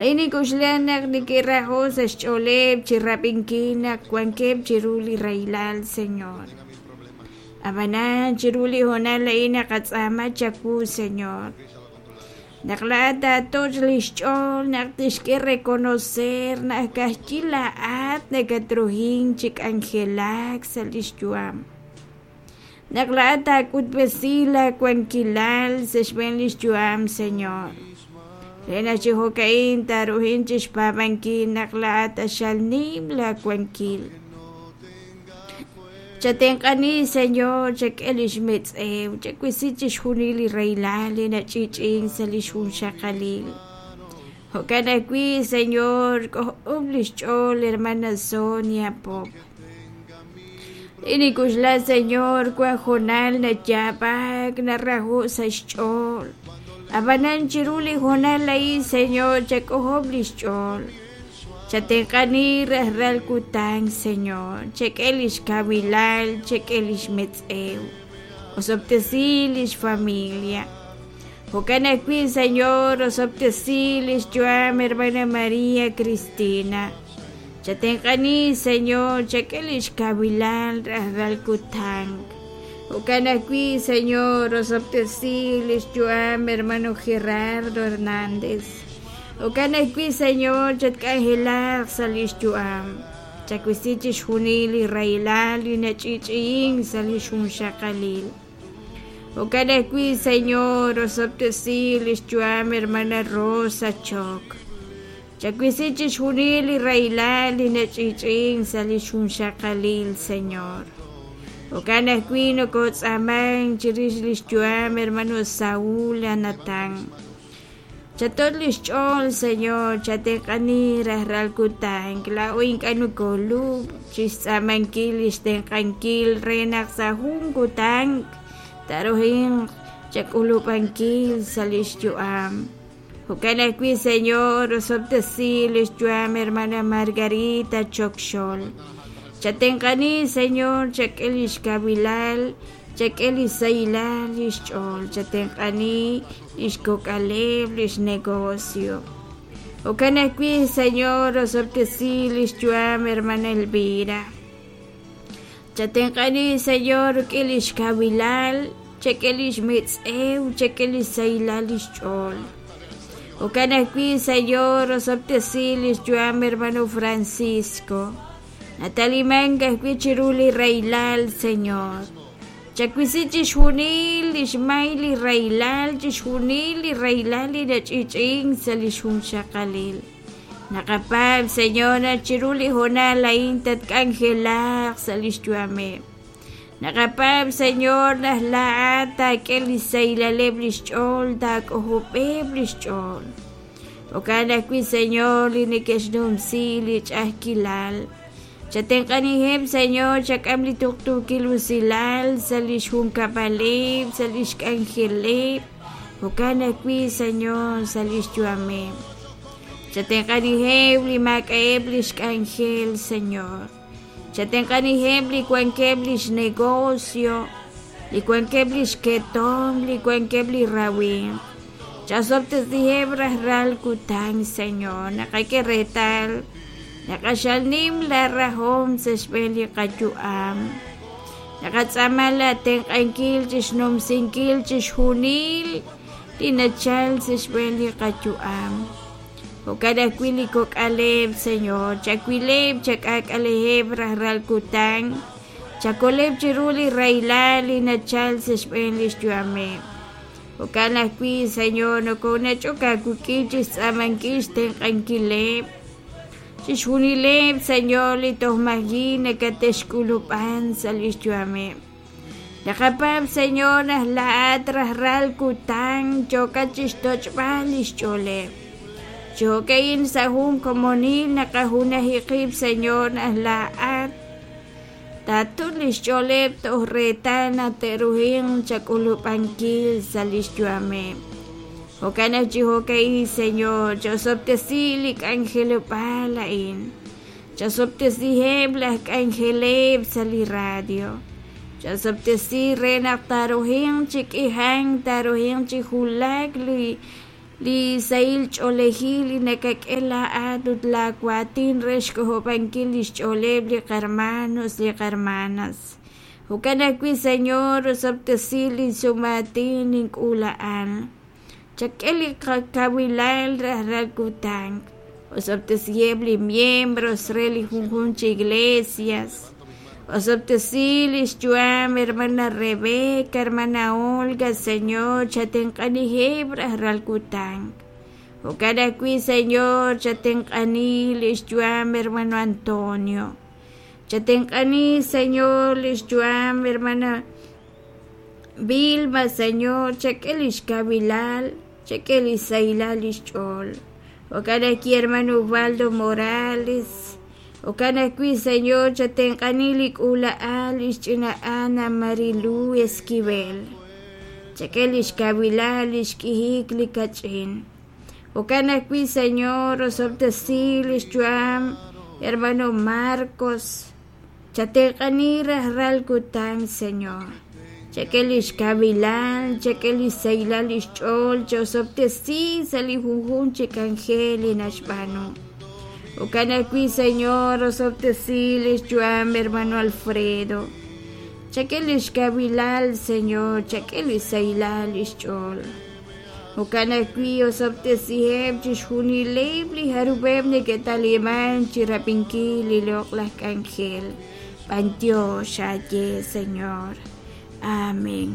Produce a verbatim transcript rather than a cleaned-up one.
Laa'in nink'oxla naq neke'raho' sa' xch'ooleb' chirab'inkil naq wankeb' chiru li rahilal, Señor. Ab'anan chiru li hoonal a'in naqatz'aama chawu, Señor, naq laa'at taatoch' li xch'ool naq tixk'e reconocer naq ka'ajwi' laa'at nakatruhin chi k'anjelak sa' lix yu'am. Naq laa'at taak'utb'esi laawankilal sa' xb'een lix yu'am, Señor. Re naq chi jo'ka'in taaruhin chixpaab'ankil naq laa'at q'axal nim laawankil. Chatenq'ani, Señor, chak'e lix metz'ew, chawisi chixjunil li rahilal li nach'i'ch'i'ink sa' lix junxaqalil. Jo'kan ajwi', Señor, k'ojk'ob' lix ch'ool hermana Sonia Pop. Laa'in nink'oxla, Señor, wan hoonal nayaab'ak, naraho' sa' xch'ool. Ab'anan chiru li hoonal a'in, Señor, chak'ojob' lix ch'ool. Chatenq'ani rajlal kutan, Señor. Chak'e lix kawilal, chak'e lix metz'ew. Osob'tesi lix familia. Jo'kan ajwi', Señor, osob'tesi lix yu'am hermana María Cristina. Chatenq'ani, Señor, chak'e lix kawilal rajlal kutan. Jo'kan ajwi', Señor, osob'tesi lix yu'am hermano Gerardo Hernández. Jo'kan ajwi', Señor, chatk'anjelaq sa' lix yu'am. Chawisi chixjunil li rahilal li nach'i'ch'i'ink sa' lix junxaqalil. Jo'kan ajwi', Señor, osob'tesi lix yu'am hermana Rosa Choc. Chawisi chixjunil li rahilal li nach'i'ch'i'ink sa' lix junxaqalil, Señor. Jo'kan ajwi' nokotz'aaman chirix lix yu'am hermano Saúl Anatán. Chatot lix ch'ool, Señor, chatenq'ani rajlal kutan. Laa'o ink'a' nokolub' chixtz'aamankil lix tenq'ankil re naq sa' jun kutan taruhinq chak'ulub'ankil sa' lix yu'am. Jo'kan ajwi', Señor, osob'tesi lix yu'am hermana Margarita Chokxol. Chatenq'ani, Señor, chak'e lix kawilal, chak'e li sahilal lix ch'ool, chatenq'ani lix kok'aleb', lix negocio. Jo'kan ajwi', Señor, osob'tesi lix yu'am hermana Elvira. Chatenq'ani, Señor, rik'in lix kawilal, chak'e lix metz'ew, chak'e lix sahilal lix ch'ool. Jo'kan ajwi', Señor, osob'tesi lix yu'am hermano Francisco. Natalimank ajwi' chiru li rahilal, Señor. Chawisi chixjunil lix may li rahilal, chixjunil li rahilal li nach'i'ch'i'ink sa' lix junxaqalil. Naqapaab', Señor, naq chiru li hoonal a'in tatk'anjelaq sa' lix yu'ameb'. Naqapaab', Señor, naq laa'at taak'e li sahilaleb' lix ch'ool, taak'ojob'eb' lix ch'ool. Jo'kan ajwi', Señor, li neke'xnumsi li ch'a'ajkilal. Chatenq'aniheb', Señor, chak'am li tuqtuukil usilal sa' lix junkab'aleb', sa' lix k'anjeleb'. Jo'kan ajwi', Señor, sa' lix yu'ameb'. Chatenq'aniheb' li maak'a'eb' lix k'anjel, Señor. Chatenq'aniheb' li wankeb' lix negocio, li wankeb' lix ketom, li wankeb' li rawimq. Chasob'tesiheb' rajlal kutan, Señor. Naqak'e reetal naq'axal nim la rajom sa' xb'een li qayu'am. Naqatz'aama la tenq'ankil chixnumsinkil chixjunil li nachal sa' xb'een li qayu'am. Jo'kan ajwi' li kok'aleb', Señor, chawileb', chak'aak'aleheb' rajlal kutan, chakoleb' chiru li rahilal li nachal sa' xb'een lix yu'ameb'. Jo'kan ajwi', Señor, nokonach'ok aawik'in chixtz'aamankil xtenq'ankileb'. Chixjunileb', Señor, li toj maji nakatexk'ulub'an sa' lix yu'ameb'. Naqapaab', Señor, naq laa'at rajlal kutan yookat chixtoch'b'al lix ch'ooleb'. Chi jo'ka'in sa' jun komonil naqajunaji qib', Señor, naq laa'at taatut lix ch'ooleb' toj reetal naq te'ruhinq chak'ulub'ankil sa' lix yu'ameb'. Jo'kan naq chi jo'ka'in, Señor, chasob'tesi li k'anjelob'aal a'in. Chasob'tesiheb' laj k'anjeleb' sa' li radio. Chasob'tesi re naq taruhinq chi k'ihank, taruhinq chi julak li li sahil ch'oolejil li nakak'e laa'at ut laawaatin re xk'ojob'ankil lix ch'ooleb' li qarmanos li qarmanas. Jo'kan ajwi', Señor, osob'tesi linsumaatin link'uula'al, chak'e li qakawilal rajlal kutan, osob'tesiheb' li miembros re li junjunq chi iglesias, osob'tesi lix yu'am hermana Rebeca, hermana Olga, Señor, chatenq'aniheb' rajlal kutan. Jo'kan ajwi', Señor, chatenq'ani lix yu'am hermano Antonio, chatenq'ani, Señor, lix yu'am hermana Vilma, Señor, chak'e lix kawilal, chak'e li sahilal lix ch'ool. Jo'kan ajwi' hermano Ubaldo Morales, jo'kan ajwi', Señor, chatenq'ani li k'uula'al lix ch'ina Ana Marilu Esquivel, chak'e lix kawilal lix k'ijik li kach'in. Jo'kan ajwi', Señor, osob'tesi lix yu'am hermano Marcos, chatenq'ani rajlal kutan, Señor, chak'e lix kawilal, chak'e lix sahilal lix ch'ool, chosob'tesi sa' li junjunq chi k'anjel li naxb'aanu. Jo'kan ajwi', Señor, osob'tesi lix yu'am hermano Alfredo, chak'e lix kawilal, Señor, chak'e lix sahilal lix ch'ool. Jo'kan ajwi' osob'tesiheb' chixjunileb' li jarub'eb' neke'taliman chi rab'inkil li loq'laj k'anjel. B'antiox aye, Señor. Amén.